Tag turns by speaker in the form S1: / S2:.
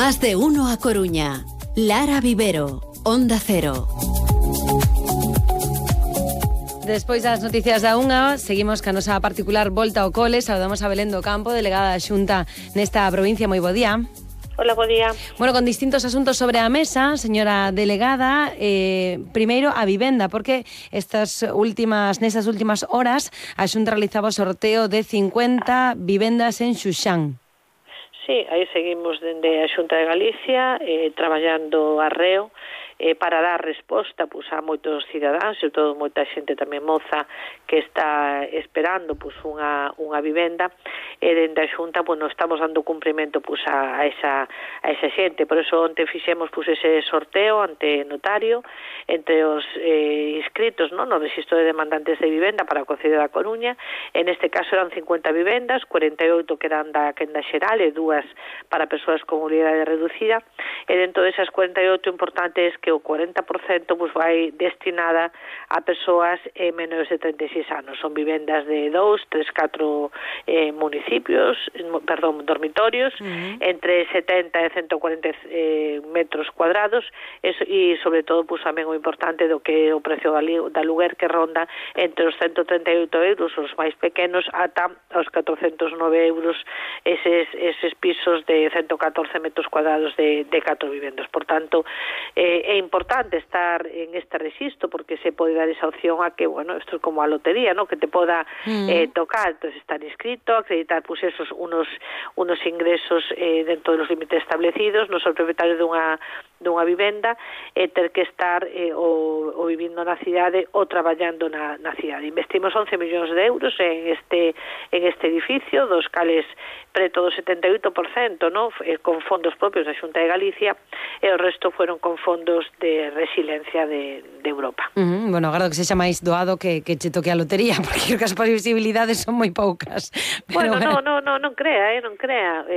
S1: Más de uno a Coruña. Lara Vivero, Onda Cero.
S2: Despois das noticias da unha, seguimos ca nosa particular volta ao cole. Saudamos a Belén do Campo, delegada da Xunta nesta provincia. Moi bo día.
S3: Hola, bo día.
S2: Bueno, con distintos asuntos sobre a mesa, señora delegada. Primeiro, a vivenda, porque nestas últimas horas a Xunta realizaba o sorteo de 50 vivendas en Xuxán.
S3: Sí, aí seguimos dende a Xunta de Galicia traballando arreo para dar resposta a moitos cidadáns, sobre todo moita xente tamén moza que está esperando unha vivenda, e dende a Xunta estamos dando cumprimento a esa xente. Por eso onte fixemos ese sorteo ante notario entre os inscritos no registro de demandantes de vivenda para o Concello da Coruña. En este caso eran 50 vivendas, 48 que eran da quenda xeral e 2 para persoas con mobilidade reducida, e dentro desas 48 importante é que o 40% vai destinada a persoas menores de 36 anos. Son vivendas de 2, 3, 4 dormitorios, entre 70 e 140 metros cuadrados, e sobre todo tamén o importante do que o precio da aluguer, que ronda entre os 138 euros os máis pequenos ata os 409 euros eses pisos de 114 metros cuadrados de 4 vivendas. Por tanto, é importante estar en este registro porque se pode dar esa opción a que, esto es como a lotería, ¿no? Que te poda tocar. Entonces, estar inscrito, acreditar esos unos ingresos dentro de los límites establecidos, non ser propietario dunha vivenda, ter que estar o vivindo na cidade ou traballando na cidade. Investimos 11 millóns de euros en este edificio, dos cales preto do 78%, ¿no? Con fondos propios da Xunta de Galicia, e o resto fueron con fondos de resiliencia de Europa.
S2: Bueno, agardo que sexa máis doado que che toque a lotería, porque creo que as posibilidades son moi poucas.
S3: Bueno, non crea, non crea.